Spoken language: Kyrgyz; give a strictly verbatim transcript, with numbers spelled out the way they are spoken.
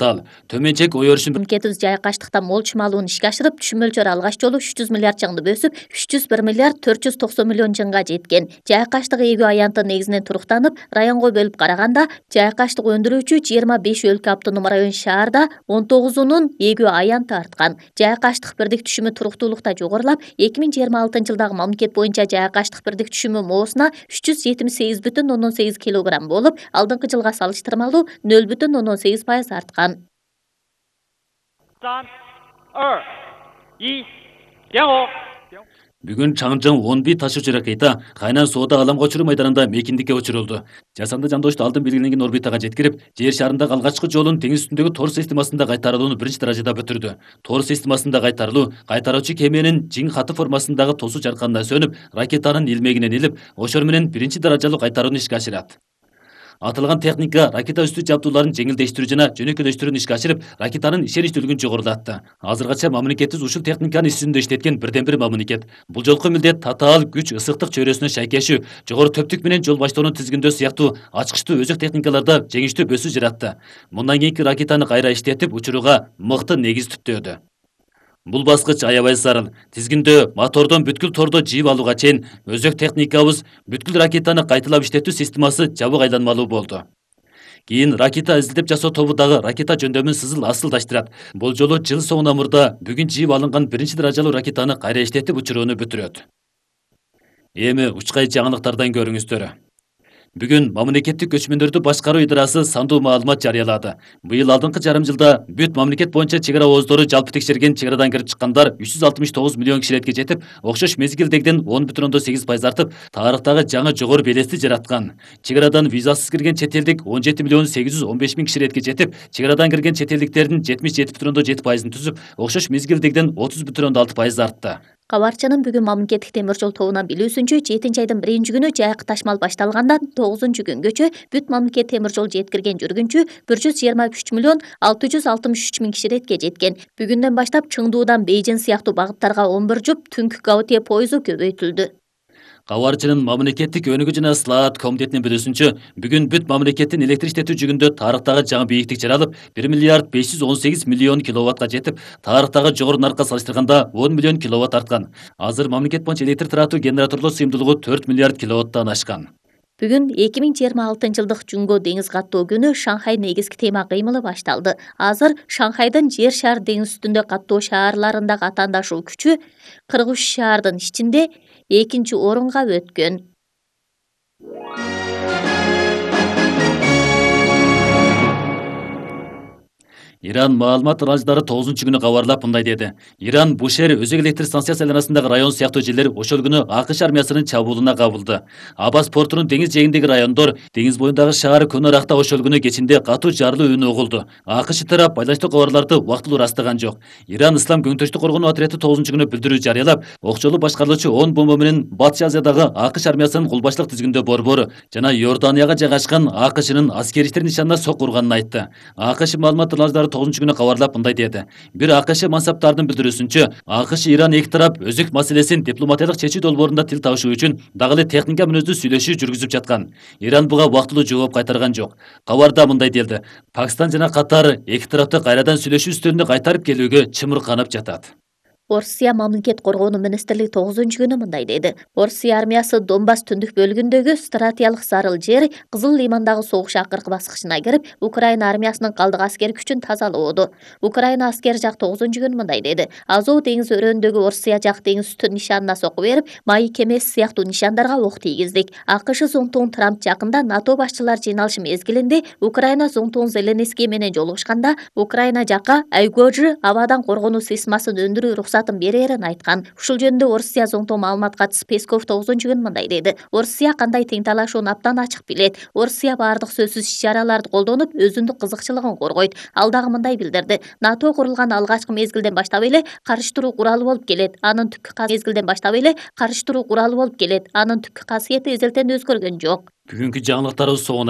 Ал төменчек ой өрүшүн Мамлекетибиз жайкаштыкта мол чымалууну ишке ашырып, түшүм мөлчөрү алгач жолу үч жүз миллиард чаңды бөсүп, үч жүз бир миллиард төрт жүз токсон миллион чаңга жеткен. Жайкаштык эгүү аянты негизинен туруктанып, районго бөлүп караганда, жайкаштык өндүрүүчү жыйырма беш өлкө автономдук район шаарда он тогузунун эгүү аянты арткан. Жайкаштык бирдик түшүмү туруктуулукта жогорулап, эки миң жыйырма алтынчы жылдагы мамлекет боюнча жайкаштык бирдик түшүмү моосуна үч жүз жетимиш сегиз бүтүн ондон сегиз килограмм болуп, алдыңкы жылга салыштырмалуу нөл бүтүн ондон сегиз пайыз арткан. Бүгүн Чаңжың он бир ташуучу ракета Кайнан соода алам көчүрүү майданында мейкиндикке учурулду. Жасанды жандошту алдын белгиленген орбитага жеткирип, жер шарындагы алгачкы жолун теңиз үстүндөгү тор системасында кайтарылууну биринчи даражада бүтүрдү. Тор системасында кайтарылуу кайтаруучу кеменин жиң каты формасындагы тосуу чарканына сөнүп, ракетанын илмегинен илип, ошор менен биринчи даражалуу кайтарууну ишке ашырат. Аталган техника ракета үстү жабдууларын жеңилдештирүү жана жөнөкөйлөштүрүүнү ишке ашырып, ракетанын ишеничтүүлүгүн жогорулатты. Азыркача мамлекетибиз ушул техниканы иш жүзүндө иштеткен бирден бир мамлекет. Бул жолку милдет татаал күч ысыктык чөйрөсүнө шайкешүү, жогору төптүк менен жол баштоонун тизгиндөө сыяктуу ачкычтуу өзөк техникаларда жеңиштүү өсүү жаратты. Мындан кийинки ракетаны кайра иштетип, учурууга мыкты негиз түптөөдү. Бул баскыч аябай зарыл. Тизгиндөө мотордон бүткүл тордо жийип алууга чейин өзөк техникабыз бүткүл ракетаны кайталап иштетүү системасы жабык айланмалуу болду. Кийин ракета изилдеп жасоо тобу дагы ракета жөндөмүн сызыл асылдаштырат. Бул жолу жыл соңуна мурда бүгүн жийип алынган биринчи даражалуу ракетаны кайра иштетип учурууну бүтүрөт. Эми учкай жаңылыктардан көрүңүздөр. Бүгүн мамлекеттик көчмөндөрдү башкаруу идарасы сандуу маалымат жарыялады. Быйыл алдыңкы жарым жылда бүт мамлекет боюнча чек ара ооздору жалпы текшерген чек арадан кирип чыккандар үч жүз алтымыш тогуз миллион киширетке жетип, окшош мезгилдегиден он бүтүн ондон сегиз пайыз артып, тарыхтагы жаңы жогору белести жараткан. Чек арадан визасыз кирген чет элдик он жети миллион сегиз жүз он беш миң киширетке жетип, чек арадан кирген чет элдиктердин жетимиш жети бүтүн ондон жети пайызын түзүп, окшош мезгилдегиден отуз бүтүн ондон алты пайыз артты. Кабарчынын бүгүн мамлекеттик темир жол тобунан билүүсүнчө, жетинчи айдын биринчи күнү жайкы ташмал башталгандан тогузунчу күнгөчө бүт мамлекет темир жол жеткирген жүргүнчү бир жүз жыйырма үч миллион алты жүз алтымыш үч миң киширетке жеткен. Бүгүндөн баштап Чыңдуудан Бейжин сыяктуу багыттарга он бир жұп түнкү Гаутие пойызу көбөйтүлдү. Кабарчынын мамлекеттик өнүгүү жана слаат комитетинин билүүсүнчө, бүгүн бүт мамлекеттин электр иштетүү жүгүндө тарыхтагы жаңы бийиктик жаралып, бир миллиард беш жүз он сегиз миллион киловаттка жетип, тарыхтагы жогору наркка салыштырганда он миллион киловатт арткан. Азыр мамлекет боюнча электр таратуу генераторлор сыйымдуулугу төрт миллиард киловаттан ашкан. Бүгүн эки миң жыйырма алтынчы жылдык Жунго деңиз каттоо күнү Шанхай негизги тема кыймылы башталды. Азыр Шанхайдын жер шар деңиз үстүндө каттоо шаарларындагы атаандашуу күчү кырк үч шаардын ичинде экинчи орунга өткөн. Иран маалымат аралыштары тогузунчу күнү кабарлап мындай деди. Иран Бушер өзөк электр станциясы айланасындагы район сыяктуу жерлер ошол күнү АКШ армиясынын чабуулуна кабылды. Абас портунун деңиз жээгиндеги райондор, деңиз боюндагы шаар Күн Аракта ошол күнү кечинде катуу жарылуу үнү угулду. АКШ тарап байланыштуу кабарларды убактылуу ырастаган жок. Иран Ислам көңтөштүк коргонуу отряды тогузунчу күнү билдирүү жарыялап, окчолуу башкарылуучу он бомба менен Батыш Азиядагы АКШ армиясынын кулбаштык тизгиндөө борбору жана Иорданияга жайгашкан АКШнын аскери иштер нишанына сок урганын айтты. АКШ маалымат аралыштары тогузунчу күнү кабарлап мындай деди. Бир АКШ мансаптарынын билдирүүсүнчө, АКШ Иран эки тарап өзөк маселесин дипломатиялык чечүү долбоорунда тил табышуу үчүн дагы эле техника мүнөздүү сүйлөшүү жүргүзүп жаткан. Иран буга убактылуу жооп кайтарган жок. Кабарда мындай делди. Пакистан жана Катар эки тарапты кайрадан сүйлөшүү үстөлүнө кайтарып келүүгө чымырканып жатат. Орусия мамлекет коргоонуу министрлиги тогузунчу күнү мындай деди. Орусия армиясы Донбасс түндүк бөлүгүндөгү стратегиялык зарыл жер Кызыл Лимандагы согуш акыркы баскычына кирип, Украина армиясынын калдык аскер күчүн тазалоодо. Украина аскер жак тогузунчу күнү мындай деди. Азов деңиз өрөөнүндөгү Орусия жак деңиз үстү нишанына сокку берип, майы кемеси сыяктуу нишандарга ок тийгиздик. АКШ зонтогун Трамп жакында НАТО башчылар жыйналышы мезгилинде Украина зонтогун Зеленский менен жолугушканда, Украина жакка Айгожи абадан коргонуу системасын өндүрүү уруксатын берерин айткан. Ушул жөнүндө Орусия зонтоо маалымат катчысы Песков тогузунчу күнү мындай деди. Орусия кандай тең талашууну абдан ачык билет. Орусия баардык сөзсүз иш-чараларды колдонуп, өзүндүк кызыкчылыгын коргойт. Ал дагы мындай билдирди. НАТО курулган алгачкы мезгилден баштап эле каршы туруу куралы болуп келет. Анын түпкү мезгилден баштап эле каршы туруу куралы болуп келет. Анын түпкү касиети эзелтен өзгөргөн жок. Бүгүнкү жаңылыктарыбыз соңуна